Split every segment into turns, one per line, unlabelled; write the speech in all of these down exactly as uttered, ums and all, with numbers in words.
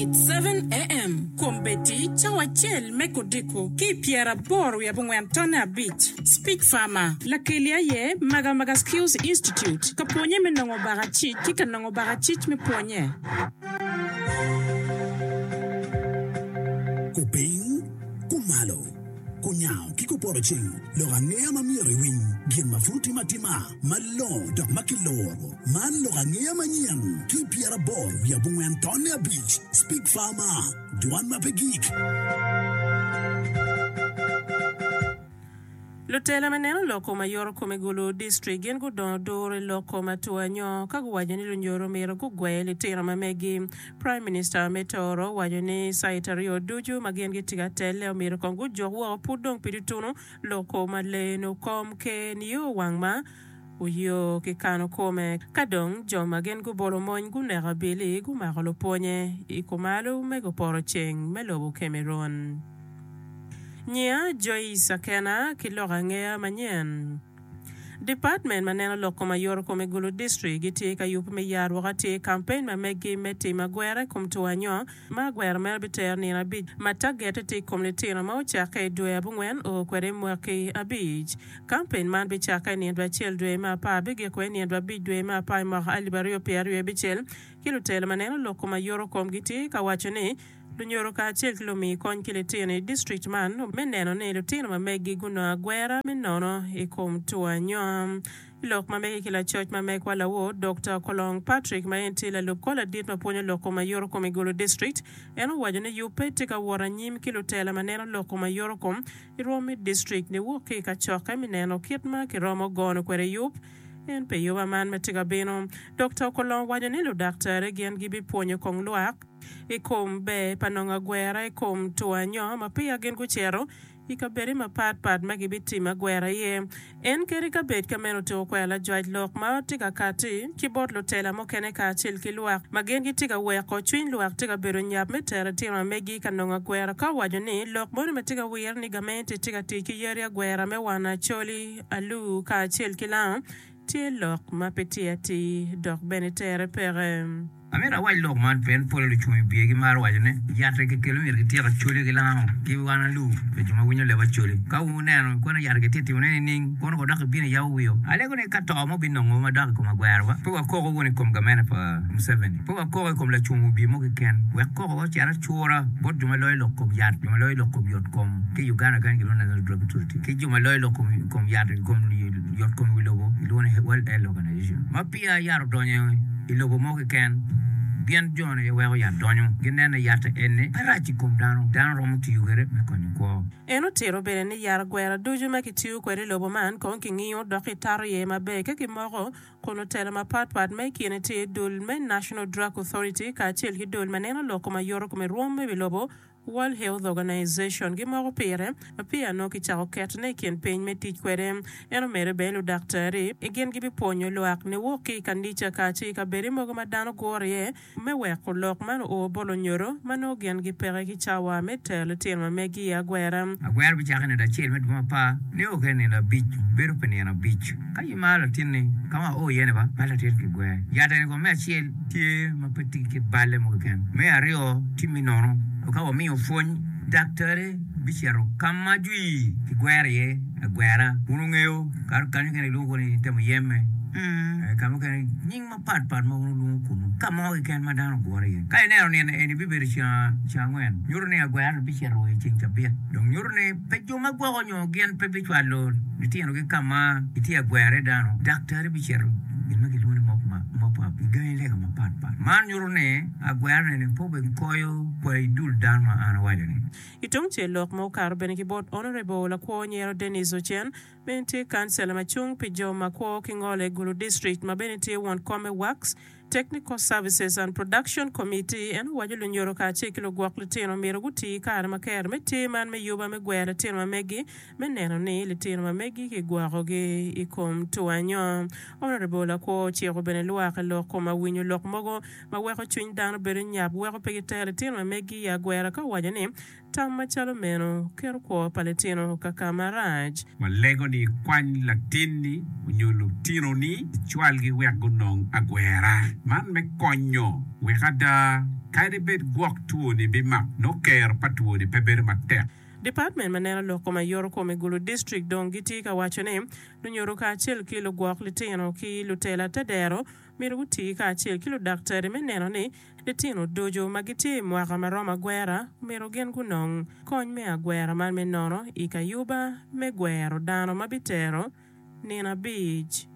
It's seven AM, Kombeddi cawa acel me kodiko ki i pyeraboro wiye abongwen tonne abic. Speak Farmer, Lakeli aye Magamaga Skills Institute, ka pwonye me nongo bakacic ki ka nongo bakacic me pwonye.
Kupiny, kumalo, kunyango ki kupoto ceng, lok angeya ma myero iwiny, gin ma pud timo atima, malongo dok ma kiloro. Man lok angeya manyen ki pyeraboro wiye abongwen tonne abic. Speak Farmer, dwan ma pe gik.
Lutela ma neno lok kom ayoro kom i Gulu District gin gudongo duro i lok kom atua nyo ka guwaco ni lunyoro myero gugwe litino ma megi. Prime Minister me Toro owaco ni cait aryo ducu ma gin gitye ka telle omyero kong gujuk woko pud dong pi tutunu lok kom aleno kom ker nio wang ma oyo ki kano kome. Ka dong jo ma gin gubolo mony guneko abili gumako lupwonye i kumalo me guporo ceng me lobo Cameroon. Nyia Joyce Akena ki lok angeya manyen. Department ma neno lok kom ayoro kom i Gulu District gitye ka yubo me yarwok atir campaign ma megi me timo agwera i kom two anyo ma agwera meno bitero nino abic ma tagete tye i kom litino ma ocakke i dwe abongwen o kwede i mwaki abic. Campaign man bicakke i nino acel dwe me apar bigiko i nino abic dwe me apar i mwaka alip aryo pyera aryo abicel ki lutelo ma neno lok kom ayoro kom gitye ka waco ni lunyoro kacel ki lumi kony ki litino i district man me neno ni litino ma megi gunongo agwera me nono i kom two anyo. Lok ma megi ki lacoc ma megwa lawor Dr. Kolong Patrick ma en tye lalub kor ladit ma pwonyo lok kom ayoro kom i Gulu District en owaco ni yubbe tye ka wot anyim ki lutela ma neno lok kom ayoro kom i rwom me district niwok ki i kacokke me neno kit ma kiromo gono kwede yub en pe yuba man ma tye ka bino. Dr. Kolong owaco ni ludaktari gin gibipwonyo kong lwak i kom ber pa nongo agwera i kom two anyo ma peya gin gucito i kabedo mapatpat ma gibitimo agwera iye. En kadi ka bed ka meno otiko kwero lajwac lok ma tye ka kati ki bot lutela mukene kacel ki lwak ma gin gitye ka weko cwiny lwak tye ka bedo nyap me tero litino ma megi ka nongo agwera ka owaco ni lok moni ma tye ka wire ni gamente tye ka tic ki yadi agwera me wano acholi aluu kacel ki lango tye lok ma pe tye atir dok bene tere peke.
Amito awac lok man pien pole lucung i wiye gimaro waco ni, Yat-ti kikelo myero kityek acholi ki lango ki wan alur pi jo ma winyo leb acholi. Ka wuneno kono yat-ti kitye timone nining, kono ko dok ibino iyabo wiyo. Alego ni ka to mo binongo ma dok i kom agwero-wa, pe wakoko wunu i kom gamente pa Museveni, pe wakoko i kom lacung wibye mo keken. Wek kokowa ocit acura bot jo ma loyo lok kom yat, jo ma loyo lok kom yot kom ki i Uganda kany gilwongo ni National Drug Authority, ki jo ma loyo lok kom yat i kom yot kom i wi lobo gilwongo ni World Health Organization. Ma peya yat odonyo i lobo mo keken, gin jo-ni aye weko yat donyo. Gineno ni yat eni pe rac i kom dano, dano romo tiyo kwede me konyo kwo.
En otito bene ni yat agwera ducu ma kitiyo kwede i lobo man kong kingiyo dok kitato iye maber ka kimoko kun otelo mapatpat ma i kine tye dul me National Drug Authority kacel ki dul ma neno lok kom ayoto kom i rwom me wi lobo World Health Organization gimoko pire ma peya nongo kicako ketone i kin piny me tic kwede. En omedo bene ludaktari gin gibipwonyo lwak niwok ki i kanica kacel i kabedi mogo ma dano guro iye me weko lok man oo bot lunyodo ma nongo gin gipeke ki cawa me tero litino ma megi i agwera.
Agwera bicakke nino acel me dwe me apar nio kede nino abic, bedo pi nino abic. Ka imaro latinni, ka ma ao iye-ni ba, ma latin kigwer. Yat eni kong me acel tye ma pe tye ki balle mo keken. Me aryo tye me nono. Ka wamiyo pwony, daktari bicito ka ma jwi kigwero iye agwera. Wun wungeyo, kato kany mukene kilwongo ni temo yemme, ka mukene nying mapat pat ma wun wulwongo kunnu, ka mo keken ma dano ogure iye. Ka ineno nino eni bibedo ceng angwen, nyuto ni agwera-ni bicito wa i ceng cabit. Dong nyuto ni pe jo ma gwoko nyo gin pe bicwalo litinogi ka ma gitye ka gwero iye dano. Daktari bicito gin ma gilwongo ni mop up i gangi lega mapat pat. Man nyuto ni agwera eni pe obedo koyo kwayi dul dano ma an awaco-ni.
I tung cel lok ma okato bene ki bot Honourable Lakwo Nyero Denis Ocen ma en tye kancela ma cung pi jo ma kwo ki ngolo i Gulu District ma bene tye won kom me Works, Technical Services and Production Committee en owaco lunyodo kacel ki lugwok litino myero guti kare ma ker me tye man me yuba me gwero litino ma megi me neno ni litino ma megi kigwokogi i kom two anyo. Honourable Lakwo ociko bene lwak i lok kom awinyo lok mogo ma weko cwiny dano bedo nyap weko pe gitero litino ma megi i agwera ka owaco ni Tam macalo meno keto kwo pa litino ka ka marac.
Walego ni ikwany latinni nyo lutinoni icwalgi wek gunong agwera man me konyo wek ada kadi bed gwok two-ni bimak nongo kero pa two-ni pe bedo matek.
Department ma neno lok kom ayoto kom i Gulu District dong gitye ka waco ni lunyodo kacel ki lugwok litino ki lutela tedero myero guti kacel ki ludaktari me neno ni litino ducu ma gitye i mwaka ma romo agwera myero gin gunong kony me agwera man me nono i kayuba me gwero dano ma bitero nino abic.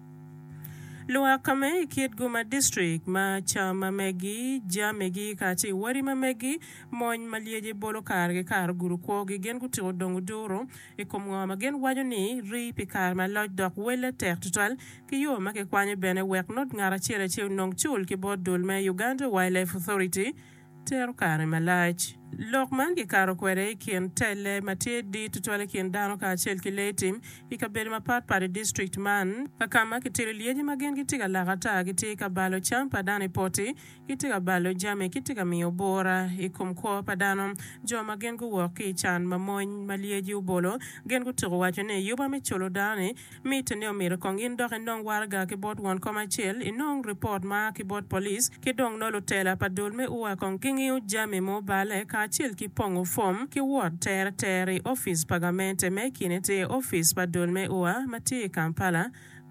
Lwak ka me i kit guma distrik ma cam ma megi, jamigi kacel ki wadi ma megi, mony ma lyeci bolo kare ki kare ogudo kwogi gin gutiko dongo duru i kom ngo ma gin waco ni rii pi kare malac dok welle tek tutwal ki yo ma kikwanyo bene wek not ngat acel acel onong cul ki bot dul me Uganda Wildlife Authority tero kare malac. Lok man kikato kwede i kin telle ma tye dit tutwal i kin dano kacel ki lee tim i kabedo mapat pat i distrikt man, ka ka ma kitelo lyeci ma gin gitye ka lak ata, gitye ka balo cam pa dano i poti, gitye ka balo jami ki tye ka miyo bura i kom kwo pa dano. Jo ma gin guwok ki i can ma mony ma lyeci obolo, gin gutuko waco ni yuba me culo dano-ni Mitte ni omyero kong in dok inong waraga ki bot won kom acel, inong ripot ma a ki bot police, ki dong nongo lutela pa dul me U A kong gingiyo jami ma oballe kacel ki pongo fom ki wot tere tere i opic pa gamente ma i kine tye opic pa dul me U A ma tye i Kampala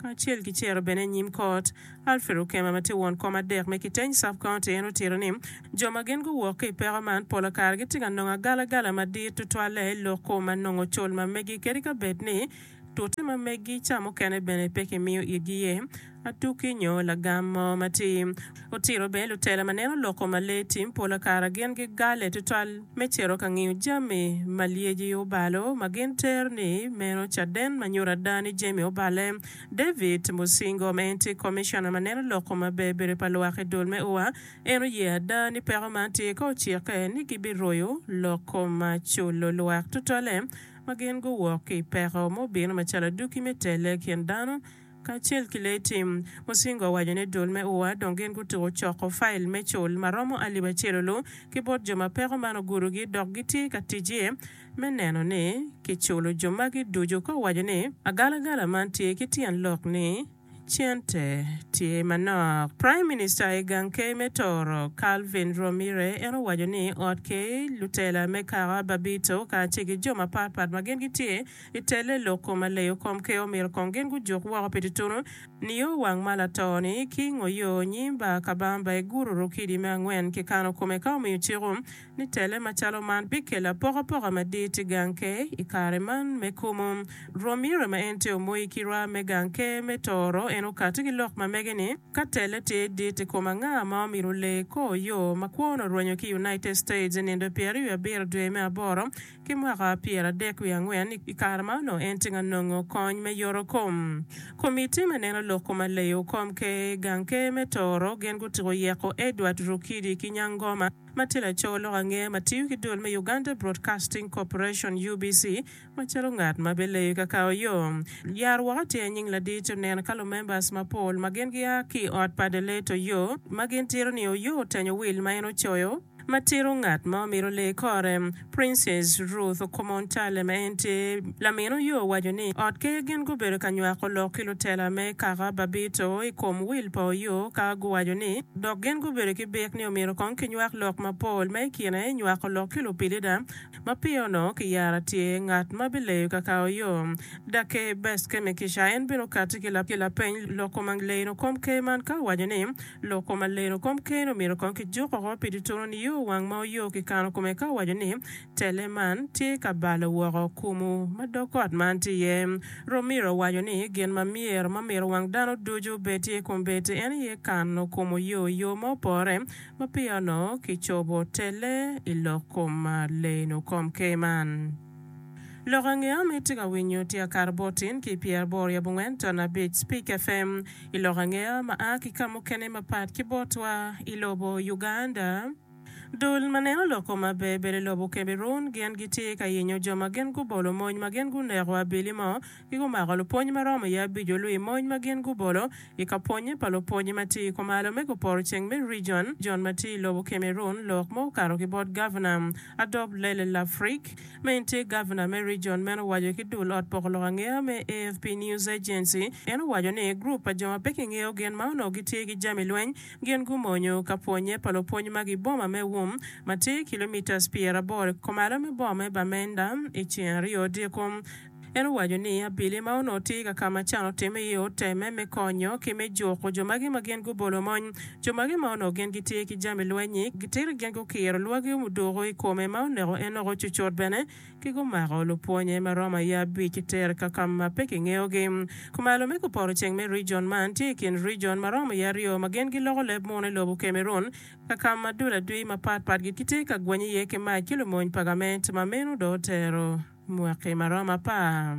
kacel ki cito bene i nyim kot. Alfred Okema ma tye won kom adek me Kiteny Sub-County en otito ni jo ma gin guwok ki i peko man pola kare gitye ka nongo agalagala madit tutwalle i lok kom ma nongo cul ma megi kadi ka bed ni Tute ma megi ca mukene bene pe kimiyo itgi iye atukki nyo lagam mo matir. Otito bene lutela ma neno loko ma lee tim pola kara gin gigale tutwal me cito ka ngiyo jami ma lyeci obalo ma gin tero ni meno caden ma nyuto ada ni jami obale. David Musingo ma en tye komiciona ma neno loko maber bedo pa lwak i dul me U A en oye ada ni peko man tye ka ocikke ni gibiroyo loko ma culo lwak tutwale ma gin guwok ki i peko ma obino macalo adwogi me tele i kin dano kacel ki lee tim. Musinga owaco ni dul me U A dong gin gutuko coko fail me cul ma romo alip acel olu ki bot jo ma peko man ogudogi dok gitye ka tic iye me neno ni kiculo jo magi ducu ka owaco ni agalagala man tye ki tyen lok ni Cente tye manok. Prime Minister i gang ker me Toro, Calvin Rwamire en owaco ni ot ker, lutela me kaka Babito kacel ki jo mapat pat ma gin gitye i telle lok kom aleyo kom ker omyero kong gin gujuk woko pi tutunu nio wang ma lato ni King Oyo nyim bar Kabamba i guru Rukidi me angwen ki kano kome ka omiyo ciko ni tele macalo man bikelo apokapoka madit i gang ker i kare man me kumu. Rwamire ma en tye omoyi ki rwa me gang ker me Toro en okati ki lok ma mege ni, Ka tele tye dit i kom anga ma omyero olee kor yo ma kwone orwenyo ki United States i nindo pyeraryo wiye abiro dwe me aboro ki mwaka pyeradek wiye angwen i kare ma onongo en tye ka nongo kony me yoto kom. Komitti me neno lok kom aleyo kom ker gang ker me Toro gin gutiko yeko Edward Rukidi ki Nyangoma ma tye laco lok angeya ma tiyo ki dul me Uganda Broadcasting Corporation, U B C, macalo ngat ma bileyo ka kao yo. Yar woko tye nying ladit oneno ka lumembers mapol ma gin gia ki i ot pa The Late Oyo ma gin tito ni Oyo otenyo wil ma en ocoyo ma tito ngat ma omito lee kore. Princess Ruth Okomontale ma en tye lamin Oyo owaco ni ot ker gin gubedo ka nywako lok ki lutela me kaka Babito i kom wil pa Oyo ka guwaco ni dok gin gubedo ki bik ni omyero kong kinywak lok mapol ma i kine nywako lok ki lupilida ma peya onongo kiyaro tye ngat ma bileyo ka kao yo. Daker Best Kemigisha en bene okati ki lapeny lok kom leno kom ker man ka owaco ni lok kom aleno kom ker-ni omyero kong kijuk oko pi tutunu nio wang ma oyo kikano kome ka owaco ni tele man tye ka balo woko kumu ma dog ot man tye iye. Romiro owaco ni gin ma myero ma myero wang dano ducu obed tye kombeddi en aye kano kom oyo i yo ma opore ma peya onongo kicobo tele i lok kom leno kom ker man. Lok angeya ma itye ka winyo tye akato bot tin ki pyeraboro i abongwen ton abic Speak F M i lok angeya ma a ki ka mukene mapat ki botwa i lobo Uganda. Dul ma neno lok kom maber bedo i lobo Cameroon gin gitye ka yenyo jo ma gin gubolo mony ma gin guneko abili mo ki gumako lupwony ma romo iye abic olwi mony ma gin gubolo i ka pwonye pa lupwonye ma tye i kumalo me guporo ceng me region Jon ma tye i lobo Cameroon lok ma okato ki bot Gavana Adolphe Lele Lafrique ma en tye Gavana me region meno owaco ki dul ot poko lok angeya me A F P News Agency. En owaco ni gurup pa jo ma pe kingeyo gin ma onongo gitye ki jami lweny gin gumonyo ka pwonye pa lupwony magi i boma me Wum ma tye kilomitas pyeraboro kumalo me boma me Bamenda i ceng aryo odiko. En owaco ni abili ma onongo tye ka ka ma can otimme iye otemme me konyo ki me juko jo magi ma gin gubolo mony. Jo magi ma onongo gin gitye ki jami lweny-nyi gitito gin gukiro lwagi muduko i kome ma oneko en oko cucut bene ki gumako lupwonye ma romo aye abic ki tero ka ka ma pe kingeyogi. Kumalo me guporo ceng me region man tye i kin region ma romo iye aryo ma gin giloko leb muno i lobo Cameroon ka ka ma dul adwi mapatpat gitye ka gweny iye ki mac ki lumony pa gament ma meno dong otero mwaki ma romo apar.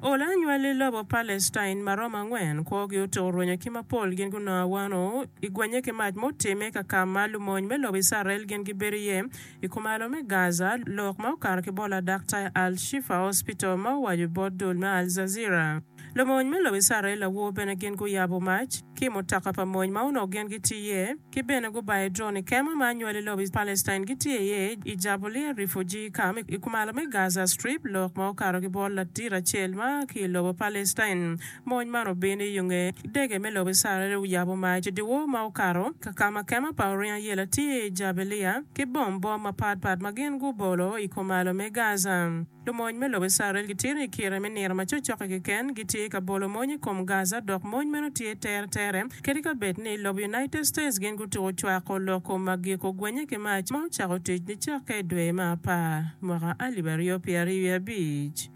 Ola anywali lobo Palestine ma romo angwen kwogi otuko rwenyo ki mapol gin gunongo awano i gwenye ki mac mutimme ka ka ma lumony me lobo Icrael gin gibedo iye i kumalo me Gaza lok ma okato ki bot ladaktar Al Shifa Hospital ma owaco bot dul me Al Jazeera. Lumony me lobo Icrael awo bene gin guyabo mac ki mutoka pa mony ma onongo gin gitye iye ki bene gubayo drone i kema ma anywali lobo Palestine gitye iye i Jabalia Refugee Camp i kumalo me Gaza Strip lok ma okato ki bot ladit acel ma ki i lobo Palestine. Mony man obino i yo nge dege me lobo Icrael oyabo mac i dyewor ma okato ka ka ma kema pa oringo ayela tye i Jabalia ki bom bom mapatpat ma gin gubolo i kumalo me Gaza. Lumony me lobo Icrael gitye i kire me nino ma cokcokke keken gitye ka bolo mony i kom Gaza dok mony meno tye teretere kadi ka bed ni lobo United States gin gutuko cwako lok kom agiko gwenye ki mac ma ocako tic nicakke i dwe me apar mwaka alip aryo pyera aryo abic.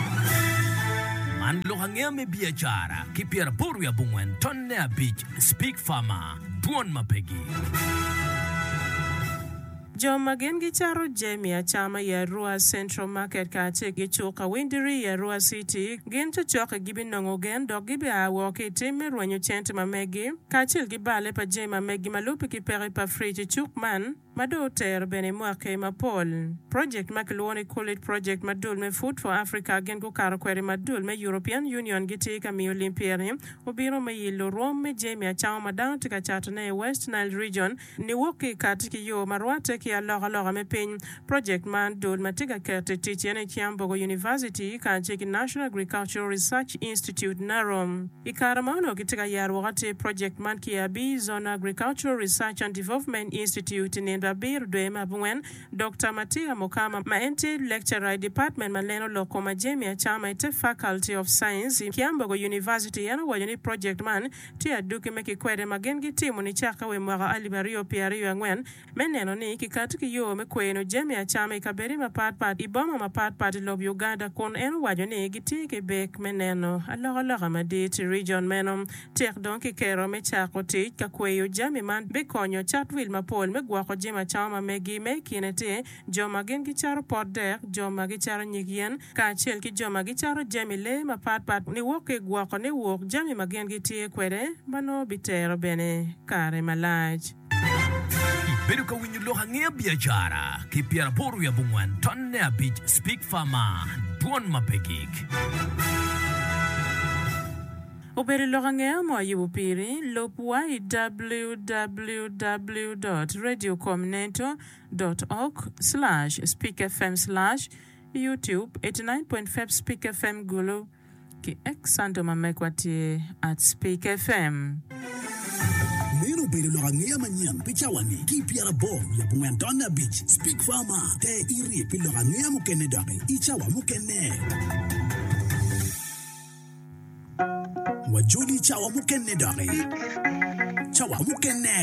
Man lok angeya me biacara ki pyeraboro wiye abongwen tonne abic Speak Farmer, dwon ma pegi.
Jo ma gin gicato jami acama i Arua Central Market kacel ki cuk Awindiri i Arua City gin cokcokke gibinongo gen dok gibia woko ki i tim me rwenyo cente ma megi kacel ki balle pa jami ma megi ma lubbe ki peko pa frij i cuk man ma dong otero bene mwaki mapol. Project ma kilwongo ni Cool It Project ma dul me Food for Africa gin gukato kwede ma dul me European Union gitye ka miyo lim pyere obino me yilo rwom me jami acama ma dano tye ka catone i West Nile Region niwok ki i kati ki yo ma rwatte ki alokaloka me piny. Project man dul ma tye ka keto i tic ene i Kyambogo University kacel ki National Agricultural Research Institute NARO. I kare ma onongo gitye ka yaro woko atir project man ki i Abiy Zone Agricultural Research and Development Institute i nindo abiro dwe me abongwen, Dokta Matia Mukama ma en tye lecturer i department ma neno lok kom jami acama i te Faculty of Science i Kyambogo University en owaco ni project man tye aduki me kikwede ma gin gitimo nicakke wa i mwaka alip aryo pyera aryo angwen me neno ni kikato ki yo me kweno jami acama i kabedi mapatpat i boma mapatpat i lobo Uganda kun en owaco ni gitye ki bek me neno alokaloka madit i region meno. Tek dong kiketo me cako tic ka kweyo jami man bikonyo cat wil mapol me gwoko jami acama ma megi me i kine tye jo ma gin gicato pot dek, jo ma gicato nyig yen, kacel ki jo ma gicato jami lee mapatpat niwok ki i gwoko niwok jami ma gin gitye kwede ma nongo bitero bene kare malac.
Ibedo ka winyo lok angeya biacara ki pyeraboro wiye abongwen tonne abic Speak Farmer, dwon ma pe gik.
Obedo lok angeya mo ayubo piri, lubwa i w w w dot radiocomneto dot org slash speakfm slash youtube eighty-nine point five Speak F M Gulu ki X handle ma megwa tye at Speak F M.
Meno obedo lok angeya manyen pi cawa-ni ki pyeraboro wiye abongwen tonne abic Speak Farmer te iri pi lok angeya mukene doki i cawa mukene. Wajoli cawa mukene doki. Cawa mukene.